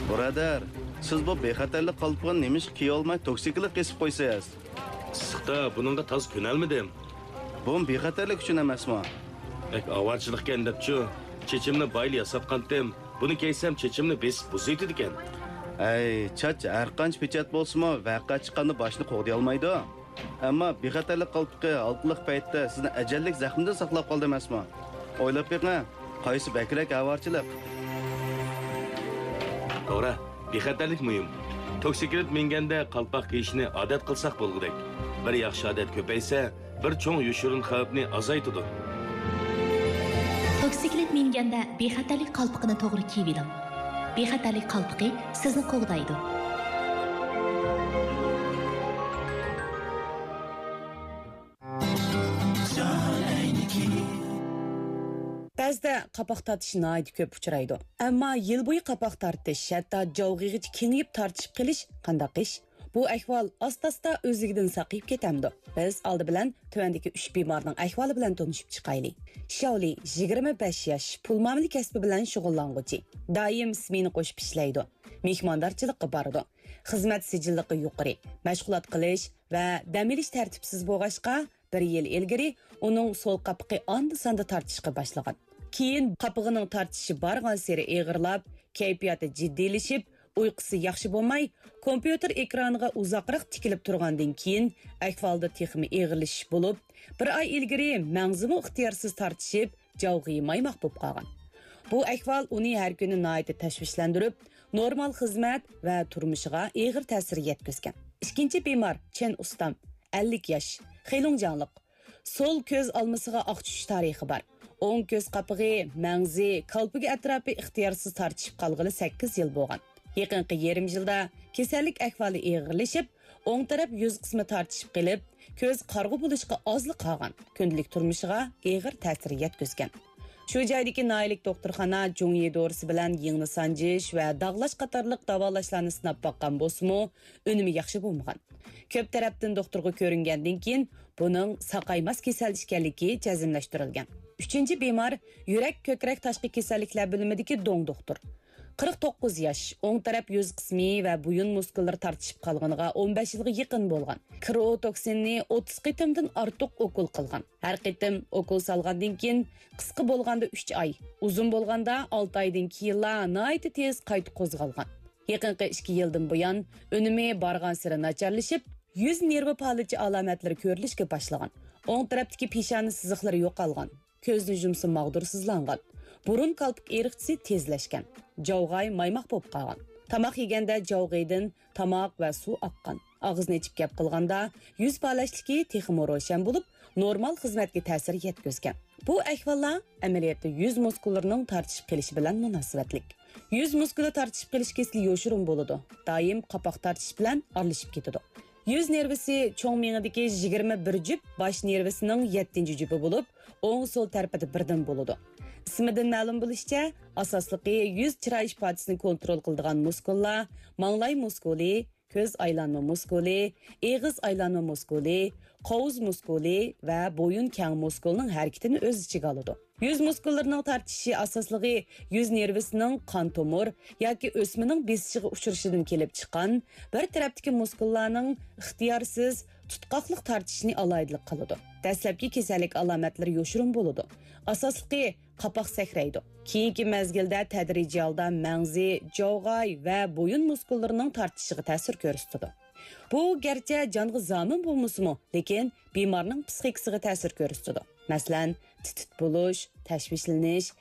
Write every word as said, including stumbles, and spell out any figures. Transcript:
بۇرادەر، سىز بۇ بىخەتەرلىك قالپىقىنى نېمىشقا كىيىۋالماي توكسىكلىق كېسىپ قويىسىز؟ ئىسسىقتا بۇنىڭغا تازا كۆنەلمىدىم. بۇمۇ بىخەتەرلىك ئۈچۈن ئەمەسمۇ؟ بەك ئاۋارىچىلىقكەن دەپچۇ، چېچىمنى بايىلا ياساتقانتىم. بۇنى كىيسەم چېچىمنى بېسىپ بۇزۇۋېتىدىكەن. ئەي، چاچ ھەرقانچە پېچەت بولسىمۇ، ۋەقە چىققاندا باشنى قوغدىيالمايدۇ. ئەمما بىخەتەرلىك قالپىقى ھالقىلىق پەيتتە سىزنى ئەجەللىك زەخمىدىن ساقلاپ قالدى ئەمەسمۇ؟ ئويلاپ بېقىڭ، قايسى بەكرەك ئاۋارىچىلىق؟ توغرا، بىخەتەرلىك مۇھىم. توكسىكلىت مىنگەندە قالپاق كىيىشنى ئادەت قىلساق بولغۇدەك. بىر ياخشى ئادەت كۆپەيسە، بىر چوڭ يوشۇرۇن خەۋپنى ئازايتىدۇ. توكسىكلىت مىنگەندە بىخەتەرلىك قالپىقىنى توغرا كىيىۋېلىڭ. بىخەتەرلىك قالپىقى سىزنى قوغدايدۇ. بەزىدە قاپاق تارتىش ناھايىتى كۆپ ئۇچرايدۇ. ئەمما يىل بويى قاپاق تارتىش، ھەتتا جاۋغىغىچە كېڭىيىپ تارتىشىپ قېلىش قانداق ئىش؟ بۇ ئەھۋال ئاستا-ئاستا ئۆزلۈكىدىن ساقىيىپ كېتەمدۇ؟ بىز ئالدى بىلەن تۆۋەندىكى ئۈچ بىمارنىڭ ئەھۋالى بىلەن تونۇشۇپ چىقايلى. شياۋلى، يىگىرمە بەش ياش، پۇل مۇئامىلە كەسپى بىلەن شۇغۇللانغۇچى. دائىم سمېنا قوشۇپ ئىشلەيدۇ. مېھماندارچىلىققا بارىدۇ. خىزمەت سىجىللىقى يۇقىرى. مەشغۇلات قىلىش ۋە دەم ئېلىش تەرتىپسىز بولغاچقا، بىر يىل ئىلگىرى ئۇنىڭ سول قاپىقى ئاندا-ساندا تارتىشقا باشلىغان. كېيىن قاپىقىنىڭ تارتىشى بارغانسېرى ئېغىرلاپ، كەيپىياتى جىددىيلىشىپ، ئۇيقۇسى ياخشى بولماي، كومپيۇتېر ئېكرانىغا ئۇزاقراق تىكىلىپ تۇرغاندىن كېيىن، ئەھۋالدا تېخىمۇ ئېغىرلىشىش بولۇپ، بىر ئاي ئىلگىرى مەڭزىمۇ ئىختىيارسىز تارتىشىپ، جاۋغىيى مايماق بولۇپ قالغان. بۇ ئەھۋال ئۇنى ھەر كۈنى ناھايىتى تەشۋىشلەندۈرۈپ، نورمال خىزمەت ۋە تۇرمۇشىغا ئېغىر تەسىر يەتكۈزگەن. ئىككىنچى بىمار چېن ئۇستام، ئەللىك ياش، خېلۇڭجياڭلىق. سول كۆز ئالمىسىغا ئاق چۈشۈش تارىخى بار. ئوڭ كۆز قاپىقى، مەڭزى، كالپۇكى ئەتراپى ئىختىيارسىز تارتىشىپ قالغىلى سەككىز يىل بولغان. يېقىنقى يېرىم يىلدا كېسەللىك ئەھۋالى ئېغىرلىشىپ، ئوڭ تەرەپ يۈز قىسمى تارتىشىپ قېلىپ، كۆز قارىغۇ بولۇشقا ئازلا قالغان، كۈندىلىك تۇرمۇشىغا ئېغىر تەسىر يەتكۈزگەن. شۇ جايدىكى ناھىيەلىك دوختۇرخانا جۇڭيى دورىسى بىلەن يىڭنە سانجىش ۋە داغلاش قاتارلىق داۋالاشلارنى سىناپ باققان بولسىمۇ، ئۈنۈمى ياخشى بولمىغان. كۆپ تەرەپتىن دوختۇرغا كۆرۈنگەندىن كېيىن، بۇنىڭ ساقايماس كېسەل ئىكەنلىكى جەزملەشتۈرۈلگەن. ئۈچىنچى بىمار يۈرەك، كۆكرەك تاشقى كېسەللىكلەر بۆلۈمىدىكى دوڭ دوختۇر. قىرىق توققۇز ياش، ئوڭ تەرەپ يۈز قىسمى ۋە بويۇن مۇسكۇللىرى تارتىشىپ قالغىنىغا ئون بەش يىلغا يېقىن بولغان. كرىئوتوكسىننى ئوتتۇز قېتىمدىن ئارتۇق ئوكۇل قىلغان. ھەر قېتىم ئوكۇل سالغاندىن كېيىن، قىسقا بولغاندا ئۈچ ئاي، ئۇزۇن بولغاندا ئالتە ئايدىن كېيىنلا ناھايىتى تېز قايتا قوزغالغان. يېقىنقى ئىككى يىلدىن بۇيان ئۈنۈمى بارغانسېرى ناچارلىشىپ، يۈز نېرۋا پالىچى ئالامەتلىرى كۆرۈلۈشكە باشلىغان. ئوڭ تەرەپتىكى پېشانە سىزىقلىرى يوقالغان. كۆزنى يۇمسا ماغدۇرسىزلانغان. بۇرۇن كالپۇك ئېرىقچىسى تېزلەشكەن. جاۋغاي مايماق بولۇپ قالغان. تاماق يېگەندە جاۋغىدىن تاماق ۋە سۇ ئاققان. ئاغزىنى ئېچىپ گەپ قىلغاندا يۈز پالەچلىكى تېخىمۇ روشەن بولۇپ، نورمال خىزمەتكە تەسىر يەتكۈزگەن. بۇ ئەھۋاللار ئەمەلىيەتتە يۈز مۇسكۇللىرىنىڭ تارتىشىپ قېلىشى بىلەن مۇناسىۋەتلىك. يۈز مۇسكۇلى تارتىشىپ قېلىش كېسىلى يوشۇرۇن بولىدۇ، دائىم قاپاق تارتىش بىلەن ئارىلىشىپ كېتىدۇ. يۈز نېرۋىسى چوڭ مېڭىدىكى يىگىرمە بىر جۈپ، باش نېرۋىسىنىڭ يەتتىنچى جۈپى بولۇپ، ئوڭ سول تەرىپىدە بىردىن بولىدۇ. ئىسمىدىن مەلۇم بولۇشىچە، ئاساسلىقى يۈز چىراي ئىپادىسىنى كونترول قىلىدىغان مۇسكۇللار، ماڭلاي مۇسكۇلى، كۆز ئايلانما مۇسكۇلى، ئېغىز ئايلانما مۇسكۇلى، قوۋۇز مۇسكۇلى ۋە بويۇن كەڭ مۇسكۇلىنىڭ ھەرىكىتىنى ئۆز ئىچىگە ئالىدۇ. يۈز مۇسكۇللىرىنىڭ تارتىشىشى ئاساسلىقى يۈز نېرۋىسىنىڭ قان تومۇر ياكى ئۆسمىنىڭ بېسىشىغا ئۇچرىشىدىن كېلىپ چىققان بىر تەرەپتىكى مۇسكۇللارنىڭ ئىختىيارسىز تۇتقاقلىق تارتىشىنى ئالاھىدىلىك قىلىدۇ. دەسلەپكى كېسەللىك ئالامەتلىرى يوشۇرۇن بولىدۇ. ئاساسلىقى قاپاق سەكرەيدۇ. كېيىنكى مەزگىلدە تەدرىجىي ھالدا مەڭزى، جاۋغاي ۋە بويۇن مۇسكۇللىرىنىڭ تارتىشىشىغا تەسىر كۆرسىتىدۇ. بۇ گەرچە جانغا زامىن بولمىسىمۇ، لېكىن بىمارنىڭ پىسخىكىسىغا تەسىر كۆرسىتىدۇ. مەسىلەن، تىت-تىت بولۇش، تەشۋىشلىنىش،